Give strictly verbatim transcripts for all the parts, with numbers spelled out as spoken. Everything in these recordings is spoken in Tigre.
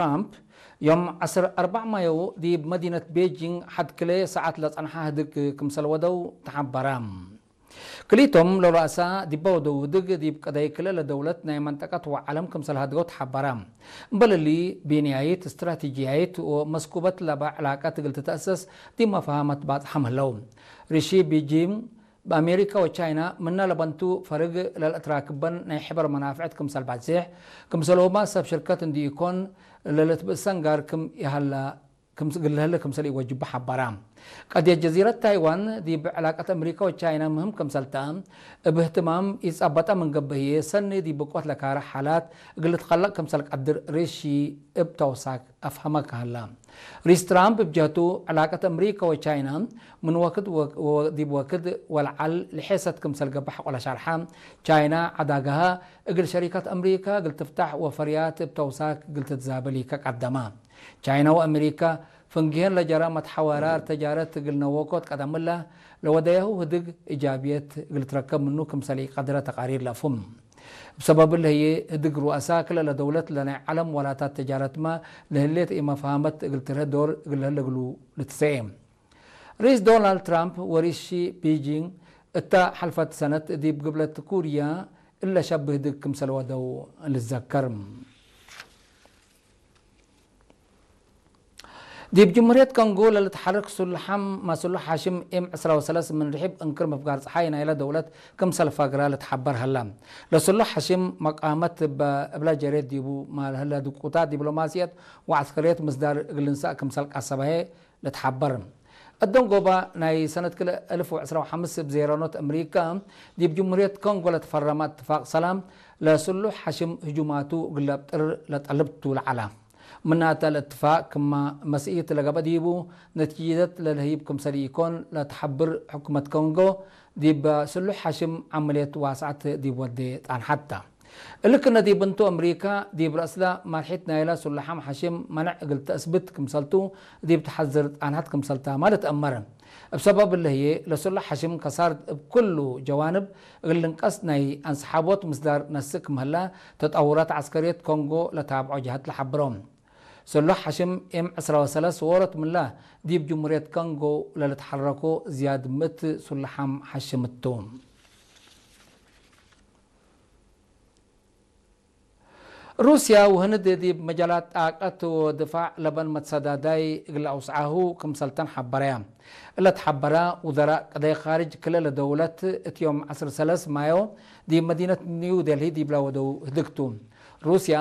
ትራምፕ፣ ዮም ዐስር አርበዕ ማዮ ዲብ መዲነት ቤጂንግ ሐድ ክልኤ ሰዓት ለጸንሐ ህድግ ክምሰል ወደው ተሐበረ። ክልኢቶም ለረአሳ ዲበ ወደው ህድግ ዲብ ቅደይ ክልኤ ለደውለት ናይ መንጠቀት ወዐለም ክምሰል ሀድገው ተሐበረ። እምበል እሊ፣ ቢንያይት፣ እስትራቲጅያይት ወመስኩበት ለበ ዕላቀት እግል ትተአሰስ ዲብ መፋሀመት ባጽሐም ህለው። ሪሺ ቢጂንግ፣ በአሜሪካ ወቻይና ምነ ለበንቱ ፈርግ ለልአትራክበን ናይ ሕበር መናፍዕት ክምሰል ባዜሕ፣ ክምሰልሁመ ሰብ ሽርከት እንዲ ኢኮን ለልትብእሰን ጋር ክም ይሀላ፣ ክም እግል ለህለ ክምሰል ኢወጅቡ ሐበራ። ቀድየት ጀዚረት ታይዋን ዲብ ዕላቀት አሜሪካ ወቻይና ምህም ክምሰልተ፣ እብ እህትማም ኢጸበጠ ምን ገብእ ህዬ፣ ሰኒ ዲብ ብቆት ለካረ ሓላት እግል ልትከለቅ ክምሰል ቀድር ሪሺ እብ ተውሳክ አፍሀመ ከሀላ። ሪስ ትራምፕ እብ ጀህቱ፣ ዕላቀት አምሪካ ወቻይና ምን ወክድ ወ-፣ ወ-፣ ዲብ ወክድ ወለዐል ልሔሰት ክምሰል ገብእ ሐቆ ለሸርሐ፣ ቻይና ዐዳገሃ እግል ሸሪካት አምሪካ እግል ትፍታሕ ወፈርያት እብ ተውሳክ እግል ትትዛብል ኢከቀደመ። ቻይና ወአምሪካ ፍንጌህን ለጀረ መትሐወራር ተጃረት እግል ነወኮት ቀደምላ ለወደያሁ ህድግ እጃብየት እግል ትረከብ ምኑ ክምሰል ኢቀድረ ተቃሪር ለአፍሁም። እብ ሰበብ እለ ህዬ፣ ህድግ ሩአሳ ክለ ለደውለት ለናይ ዐለም ወላታት ተጃረትመ ለህሌት ኢመፍሀመት እግል ትርሀ ዶር እግል ለህለ እግሉ ልትሰኤ። ርኢስ ዶናልድ ትራምፕ ወርኢስ ሺ ፒንጂንግ እተ ሐልፈት ሰነት ዲብ ግብለት ኩርያ እለ ሸብህ ህድግ ክምሰል ወደው ልትዘከር። ዲብ ጅምሁርየት ኮንጎ ለልትሐርክ ሱሉሕ ሐም-፣ ማ ሱሉሕ ሐሽም ኤም ዕስራ ወሰለስ ምን ርሒብ እንክር ምፍጋር ጸሓይ ናይለ ደውለት ክምሰል ፈግረ ልትሐበር ሀለ። ለሱሉሕ ሐሽም መቃመት እበ እብለ ጀሬት ዲቡ፣ ማ ለህለ ድቁታት ዲብሎማስየት ወዐስከርየት ምስዳር እግል ልንሳእ ክምሰል ቀሰበ ህዬ ልትሐበር። እዶንጎባ ናይ ሰነት ክልኤ እልፍ ወዕስራ ወሐምስ እብ ዜረኖት አምሪካ ዲብ ጅምሁርየት ኮንጎ ለትፈረመ እትፋቅ ሰላም ለሱሉሕ ሐሽም ህጁማቱ እግል ለብጥር ለጠልብ ቱ ለዐለ። ምናተ ለእትፋቅ ክመ መስኢት ለገብአ ዲቡ፣ ነቲጀት ለልህይብ ክምሰል ኢኮን ለትሐብር ሕኩመት ኮንጎ፣ ዲብ ስሉሕ ሐሽም ዐመልየት ዋስዐት ዲብ ወዴ ጣንሐት ተ። እሊ ክነ ዲብ እንቱ፣ አምሪካ ዲብ ረአስለ መርሒት ናይለ ስሉሕ ሐሽም መነዕ እግል ተአስብት ክምሰልቱ ዲብ ተሐዝር ጣንሐት ክምሰልታመ ልትአመር። እብ ሰበብ እለ ህዬ፣ ለስሉሕ ሐሽም ከሳርት እብ ክሉ ጀዋንብ እግል ልንቀስ ናይ አንስሓቦት ምስዳር ነስእ ክም ህለ፣ ተጠውራት ዐስከርየት ኮንጎ ለታብዖ ጀሀት ለሐብሮ። ስሉሕ ሐሽም ኤም ዕስራ ወሰለስ ዎሮት ምንለ፣ ዲብ ጅምሁርየት ኮንጎ ለልትሐረኮ ዝያድ ምእት ስሉሕ ሐሽም ቱ። ሩስያ ወህንድ ዲብ መጃላት ጣቀት ወድፋዕ ለበን መትሰዳዳይ እግል አውስዓሁ ክምሰልተን ሐበረያ። እለ ተሐበረ ውዘራእ ቅደይ ካርጅ ክልኤ ለደውለት እት ዮም ዐስር ሰለስ ማዮ ዲብ መዲነት ኒው ዴልሂ ዲብለ ወደው ህድግ ቱ። ሩስያ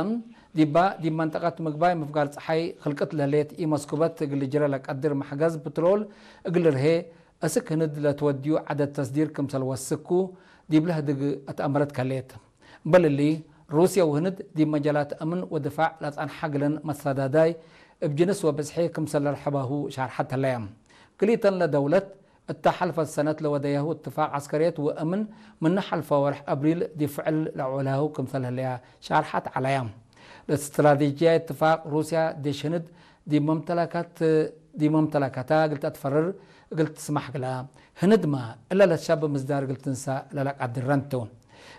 ዲባ ዲብ መንጠቀት ምግባይ ምፍጋር ጸሓይ ክልቅት ለህሌት ኢመስኩበት እግል ልጅረ ለቀድር መሕገዝ ፕትሮል እግል ልርሄ፣ አስክ ህንድ ለትወድዩ ዐደድ ተስዲር ክምሰል ወስኩ ዲብለ ህድግ አትአመረት ከሌት። እምበል እሊ፣ ሩስየ ወህንድ ዲብ መጃላት አምን ወድፋዕ ለጸንሐ ግለን መትሰዳዳይ እብ ጅንስ ወብዝሒ ክምሰል ለርሐባሁ ሻርሐት ህለየ። ክልኢተን ለደውለት እተ ሐልፈት ሰነት ለወደያሁ እትፋቅ ዐስከርየት ወአምን ምነ ሐልፈ ወርሕ አብሪል ዲብ ፍዕል ለአውዕላሁ ክምሰል ህለየ ሻርሐት ዐለየ። ለእስትራቴጅያይ እትፋቅ ሩስያ ዴሽ ህንድ ዲብ መምተለከት፣ ዲብ መምተለከታ እግል ተአትፈርር እግል ትስማሕ ግላ፣ ህንድመ እለ ለትሸብ ምስዳር እግል ትንሳእ ለለቀድረን ቱ።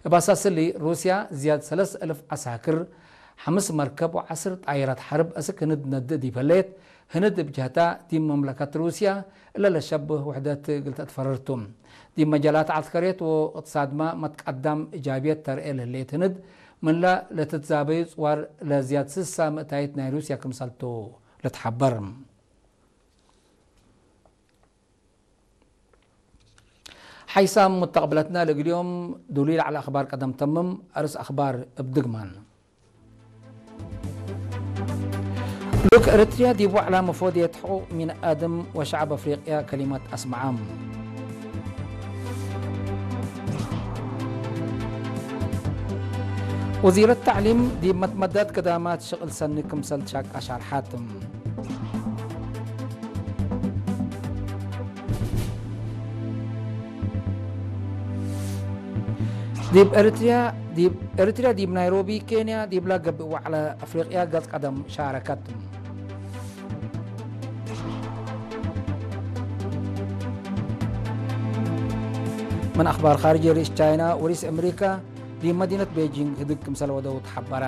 እብ አሳስ እሊ፣ ሩስያ ዝያድ ሰለስ እልፍ ዐሳክር፣ ሐምስ መርከብ ወዐስር ጣይራት ሐርብ አስክ ህንድ ነድእ ዲብ ህሌት፣ ህንድ እብ ጀህታ ዲብ መምለከት ሩስያ እለ ለሸብህ ውሕደት እግል ተአትፈርር ቱ። ዲብ መጃላት ዐስከርየት ወእቅትሳድመ መትቀዳም እጃብየት ተርኤ ለህሌት ህንድ፣ ምንለ ለትትዛበዩ ጽዋር ለዝያድ ስሳ ምእታይት ናይ ሩስያ ክምሰል ቱ። ልትሐበር። ሓይሳም ሙተቅብለትና ለእግል ዮም ዱሉይ ለዐለ አኽባር ቀደም ተምም። አርስ አኽባር እብ ድግማን። ሉክ ኤረትርያ ዲብ ወዕላ መፎድየት ሕቁቅ ሚን አድም ወሸዐብ አፍሪቅያ ከሊመት አስመዐ። ወዚረት ተዕሊም ዲብ መትመዳት ከዳማት ሽቅል ሰኒ ክምሰል ትሻቃ ሻርሓት። ዲብ ኤሪትርያ፣ ዲብ ኤሪትርያ ዲብ ናይሮቢ ኬንያ ዲብላ ገብእ ወዕለ አፍሪቅያ ገጽ ቀደም ሻረከት። ምን አኽባር ኻርጅ፣ ርኢስ ቻይና ወርኢስ አሜሪካ ዲብ መዲነት ቤጂንግ ህድግ ክምሰል ወደው ተሐበረ።